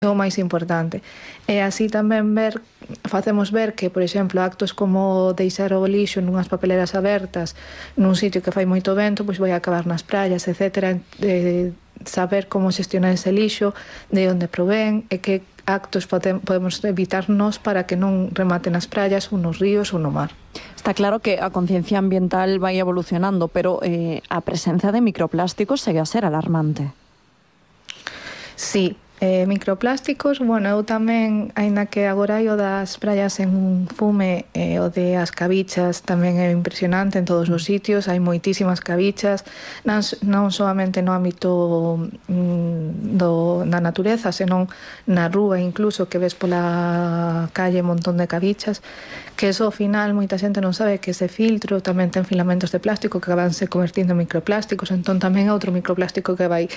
é o máis importante. E así tamén facemos ver que, por exemplo, actos como deixar o lixo nunhas papeleras abertas nun sitio que fai moito vento, pois vai acabar nas praias, etc. Saber como xestionar ese lixo, de onde provén e que actos podemos evitarnos para que non remate nas praias ou nos ríos ou no mar. Está claro que a conciencia ambiental vai evolucionando, pero a presenza de microplásticos segue a ser alarmante. Sí. Microplásticos, bueno, eu tamén, aínda que agora hai o das praias en un fume, o de as cabichas tamén é impresionante en todos os sitios, hai moitísimas cabichas, non solamente no ámbito da natureza, senón na rúa incluso, que ves pola calle un montón de cabichas, que eso ao final moita xente non sabe que ese filtro tamén ten filamentos de plástico que acaban se convertindo en microplásticos, entón tamén é outro microplástico que vai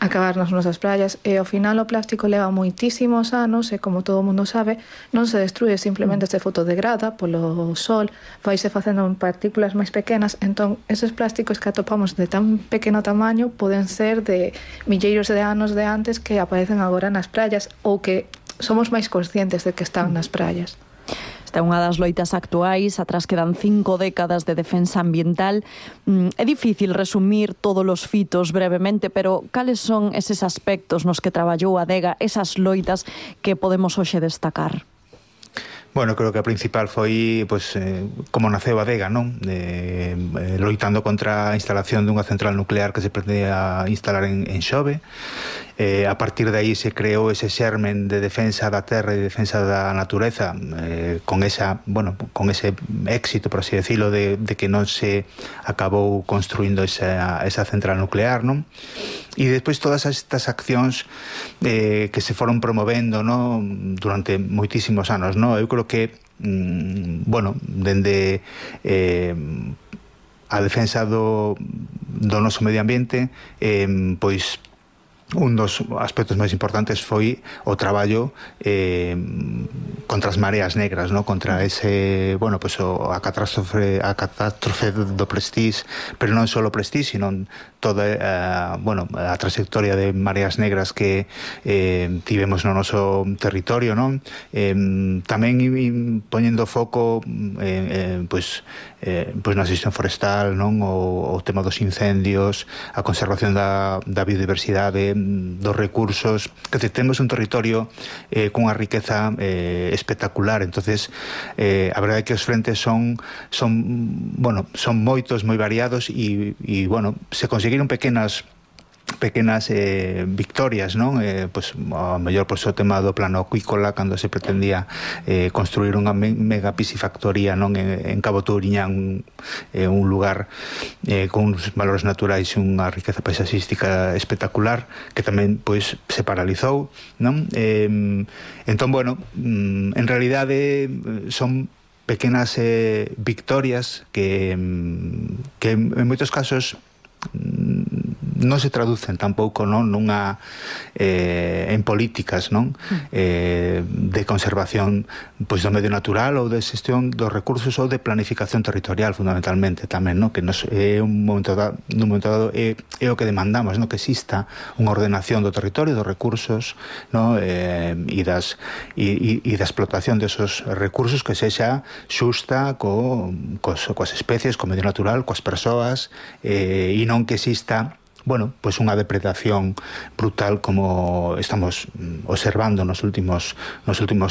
acabar nas nosas praias, e ao final o plástico leva moitísimos anos e, como todo o mundo sabe, non se destrue, simplemente se fotodegrada polo sol, vaise facendo en partículas máis pequenas, entón esos plásticos que atopamos de tan pequeno tamaño poden ser de milleiros de anos de antes que aparecen agora nas praias ou que somos máis conscientes de que están nas praias. Esta é unha das loitas actuais, atrás quedan 5 décadas de defensa ambiental. É difícil resumir todos os fitos brevemente, pero cales son eses aspectos nos que traballou a Adega, esas loitas que podemos hoxe destacar? Bueno, creo que a principal foi como naceu a Adega, non? Loitando contra a instalación dunha central nuclear que se pretendía instalar en Xove. A partir de aí se creou ese xermen de defensa da terra e de defensa da natureza, con ese éxito, por así decirlo, de que non se acabou construindo esa central nuclear, non? E despois todas estas accións que se foron promovendo, non, durante moitísimos anos, non? Eu creo que dende a defensa do noso medio ambiente, pois un dos aspectos máis importantes foi o traballo contra as mareas negras, ¿no? Contra ese, a catástrofe do Prestige, pero non só o Prestige, sino toda a trayectoria de mareas negras que tivemos no noso territorio, non? Tamén poñendo foco na xestión forestal, non? O tema dos incendios, a conservación da biodiversidade, dos recursos, que temos un territorio cunha riqueza espectacular. Entonces a verdade é que os frentes son moitos, moi variados e se conseguiron pequenas victorias, non? Ao mellor o tema do plano acuícola, cando se pretendía construir unha mega piscifactoría, non? En Cabo Touriñán, un lugar con uns valores naturais e unha riqueza paisaxística espectacular, que tamén se paralizou, non? Entón, en realidade son pequenas victorias que en moitos casos non se traducen tampouco, non, en políticas, non, de conservación do medio natural ou de xestión dos recursos ou de planificación territorial, fundamentalmente tamén, non, que nun momento dado é o que demandamos, non, que exista unha ordenación do territorio, dos recursos, non, e da explotación desos recursos que sexa xusta coas especies, co medio natural, coas persoas, e non que exista unha depredación brutal como estamos observando nos últimos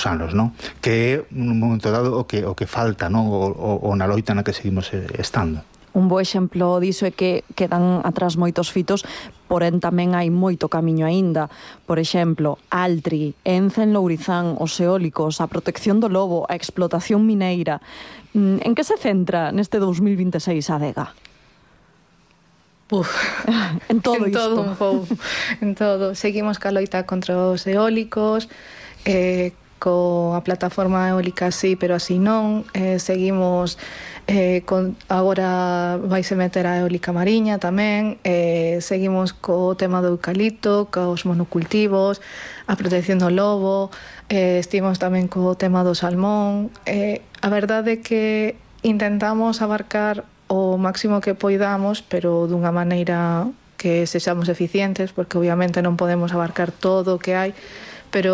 anos, non? Que é un momento dado o que falta, non? O na loita na que seguimos estando. Un bo exemplo diso é que quedan atrás moitos fitos, porén tamén hai moito camiño aínda. Por exemplo, Altri, Ence en Lourizán, os eólicos, a protección do lobo, a explotación mineira. En que se centra neste 2026 a Adega? En todo isto. En todo. Seguimos ca loita contra os eólicos, coa plataforma eólica sí, pero así non. Seguimos agora vaise meter a eólica mariña tamén. Seguimos co tema do eucalipto, cos monocultivos, a protección do lobo. Estivemos tamén co tema do salmón. A verdade é que intentamos abarcar o máximo que poidamos, pero dunha maneira que sexamos eficientes, porque obviamente non podemos abarcar todo o que hai, pero